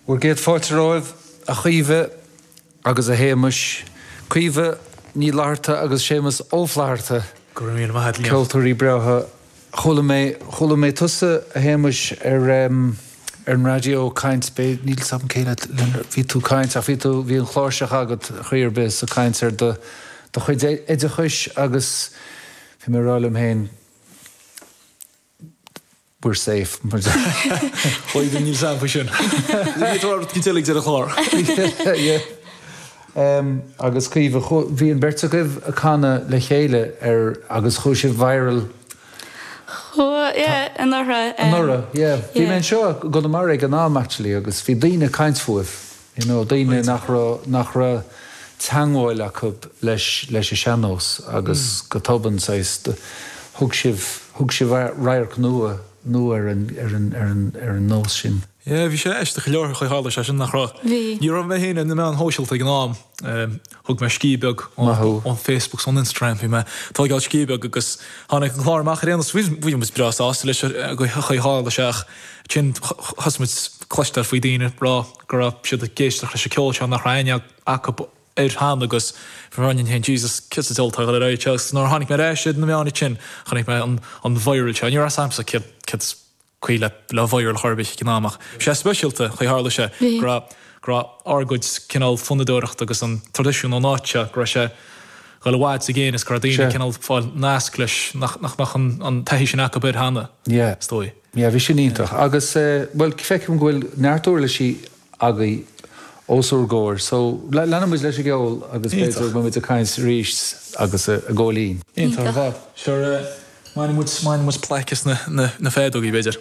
Bhur gcéad fáilte romhaibh, a Chaoimhe agus a Shéamais. Caoimhe Ní Fhlatharta agus Séamas Ó Flatharta. Go raibh míle maith a't, Liam. Ceoltóirí breátha. Chuala mé, chuala mé tusa, a Shéamais, ar em, ar an raidió ag caint, b'é, níl 's agam cé le, le, bhí tú ag caint ach bhí tú, bhí an chláirseach agat chaoi ar bith is ag caint ar do, do chuid oideachais agus bhí mé ag rá liom féin, We're safe. Bhuel, níl 's a'm faoi sin. Ní tú rud cinnte ag deireadh an chláir. Yeah. Agus Caoimhe, bhí an bheirt agaibh ag canadh le chéile ar agus chuaigh sibh viral. Chuaigh, yeah, anuraidh. Anuraidh, yeah. Bhí mé anseo i gConamara ag an am actually agus bhí daoine ag caint fúibh. You know, daoine nach raibh, nach raibh teangmháil acu leis, leis an sean-nós agus go tobann, saghas, thug sibh, thug sibh radharc nua, nua ar an, ar an, ar an, ar an nós sin. Yeah, bhí sé aisteach go leor an chaoi a tharla sé sin, nach raibh? Bhí. Ní raibh mé féin ar na meáin shóisialta ag an am. Thug mé scíth beag ón Facebook 's ón Instagram, bhí mé ag tógáil scíth beag agus tháinig an clár amach ar aon nós. Bhí, bhí muid breá sásta leis an chaoi a tharla sé ach ansin thosaigh muid cloisteáil faoi daoine ag rá, go raibh siad ag éisteacht leis an ceol seo nach raibh aithne acu air cheana agus bhí mé ag rá liom féin Jesus céard sa diabhal atá ag dul ar aghaidh anseo agus nuair a tháinig mé ar ais ar na meáin ansin chonaic mé an an viral seo. Ní raibh 's a'msa céard céard is caoi le le viral chor ar bith ag an am ach bhí sé speisialta chaoi a tharla sé go raibh go raibh ár gcuid cineál fonnadóireachta agus an traidisiún ón áit seo go raibh sé ag dul i bhfad is i gcéin is go raibh daoine cineál fáil nasc leis nach nach mbeadh an an taithí sin acu air cheana is dóigh. Yeah, bhí sin iontach. Agus, bhuel, feicim go bhfuil neart uirlisí agaibh os ár gcomhair. So, leanfaidh muid leis an gceol agus b'fhéidir go mbeidh muid ag caint arís agus a Ghóilín. Iontach ar fad. Sure, mbainfidh muid, mbainfidh muid plaic as na, na, na feadógaí, b'fhéidir.